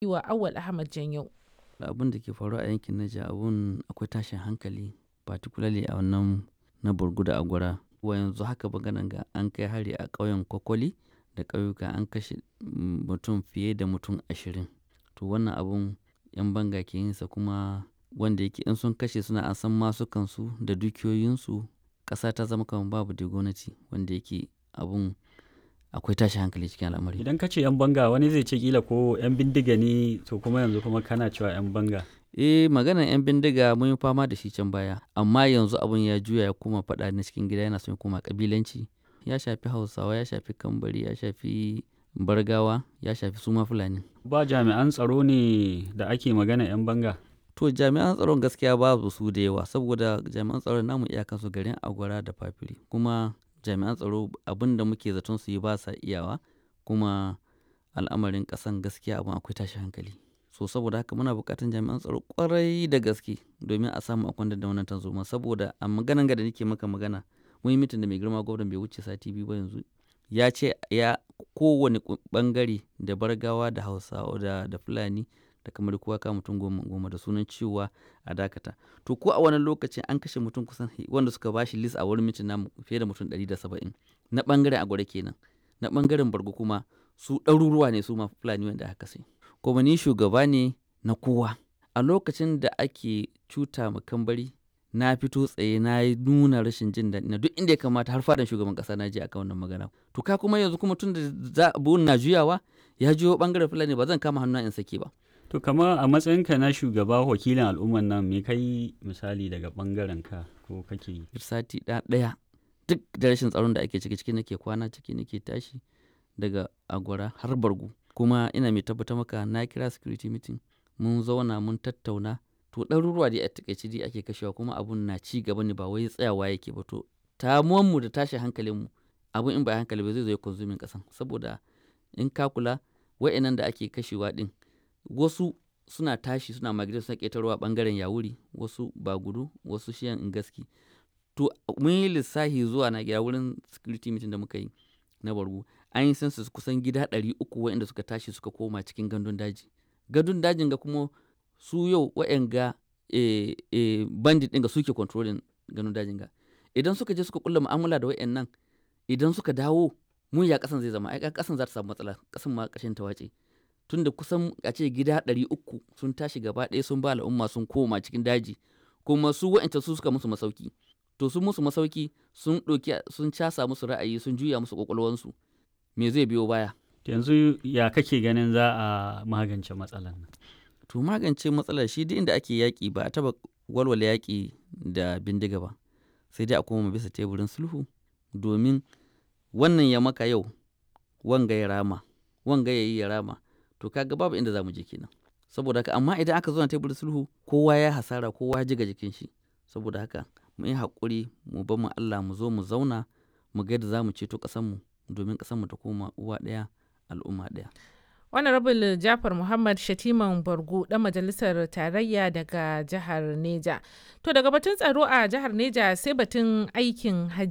Wa Auwal Ahmad Janyau. Abun da ke faruwa a yankin Niger, abun akwai tashin hankali, particularly a wannan na Borgu da Agwara. Wa yanzu haka maganan ga an kai hari a ƙauyen Kokoli da ƙauyuka, an kashe mutum fiye da mutum 20. To wannan abun 'yan banga ke yinsa, kuma wanda yake in sun kashe suna an san masukansu da dukiyoyinsu, ƙasa ta zama kamar babu dai gwamnati, wanda yake abun akwai tashin hankali cikin al'amari. Idan ka ce 'yan banga, wani zai ce kila ko 'yan bindiga ne, to kuma yanzu kuma kana cewa 'yan banga. Eh, maganar 'yan bindiga mun yi fama da shi can baya, amma yanzu abun ya juya ya koma faɗa na cikin gida, yana son ya koma ƙabilanci. Ya shafi Hausawa, ya shafi Kambari, ya shafi Bargawa, ya shafi suma Fulani. Ba jami'an tsaro ne da ake magana 'yan banga? To jami'an tsaron gaskiya babu su da yawa, saboda jami'an tsaron namu iyakansu garin Agwara da Fafiri, kuma jami'an tsaro abin da muke zaton su yi ba sa iyawa, kuma al'amarin ƙasan gaskiya abun akwai tashin hankali. So saboda haka muna buƙatar jami'an tsaro ƙwarai da gaske domin a samu a kwantar da wannan tarzoma, saboda a maganan ga da nake maka magana, mun yi mitin da mai girma gwamnan bai wuce sati 2 ba yanzu. Ya ce ya kowane ɓangare da Bargawa da Hausawa da Fulani da kamar kowa ka mutum goma goma da sunan cewa a dakata. To ko a wannan lokacin an kashe mutum kusan wanda suka bashi list a wurin mitin namu fiye da mutum 170 na ɓangaren Agwara kenan. Na ɓangaren Borgu kuma su ɗaruruwa ne, su ma Fulani wanda aka kashe. Kuma ni shugaba ne na kowa. A lokacin da ake cuta ma Kambari, na fito tsaye na nuna rashin jin daɗi na duk inda ya kamata, har fadan shugaban ƙasa na je akan wannan magana. To ka kuma yanzu kuma tun da abun na juyawa ya juyo ɓangaren Fulani, ba zan kama hannuna in sake ba. To kama a matsayinka na shugaba wakilin al'ummar nan, me kai misali daga ɓangaren ka ko kake yi? Sati ɗaya duk da rashin tsaron da ake ciki, ciki nake kwana, ciki nake tashi, daga Agwara har Bargu. Kuma ina mai tabbatar maka na kira security meeting, mun zauna mun tattauna. To ɗaruruwa dai a taƙaice dai ake kashewa, kuma abun na ci gaba ne, ba wai tsayawa yake ba. To mu da tashin hankalinmu, abun in ba hankali ba zai zo ya consuming ƙasan, saboda in ka kula wa'innan da ake kashewa ɗin, wasu suna tashi suna migrate, suna ƙetarowa ɓangaren Yawuri, wasu Bagudu, wasu shiyan Ngaski. To mun yi lissafi zuwa na gida wurin security meeting da muka yi na Bargu, an yi census kusan gida 300 waɗanda suka tashi suka koma cikin gandun daji. Gandun dajin ga kuma su yau wa'yanga bandit ɗin ga suke controlling gandun dajin ga. Idan suka je suka ƙulla mu'amala da wa'yannan, idan suka dawo mun ya ƙasan zai zama? Ai ƙasan za ta samu matsala, ƙasan ma ƙarshen ta wace. Tunda kusan a ce gida 300 sun tashi gaba ɗaya sun ba al'umma sun koma cikin daji, kuma su wa'yancan su suka musu masauki. To sun musu masauki, sun ɗauki, sun casa musu ra'ayi, sun juya musu ƙwaƙwalwansu. Me zai biyo baya? Yanzu ya kake ganin za a magance matsalar nan? To magance matsalar shi, duk inda ake yaƙi ba a taɓa walwala yaƙi da bindiga ba. Sai dai a koma bisa teburin sulhu, domin wannan ya maka yau, wanga ya rama, wanga ya yi ya rama. To ka ga babu inda za mu je kenan. Saboda haka, amma idan aka zauna teburin sulhu, kowa ya hasara, kowa ya jiga jikin shi. Saboda haka mu yi haƙuri, mu bar ma Allah, mu zo mu zauna mu ga yadda za mu ceto ƙasanmu domin ƙasanmu ta koma uwa ɗaya al'umma ɗaya. Honorable Jafar Muhammad, Shatiman Bargu, ɗan majalisar tarayya daga jihar Neja. To daga batun tsaro a jihar Neja sai batun aikin hajji.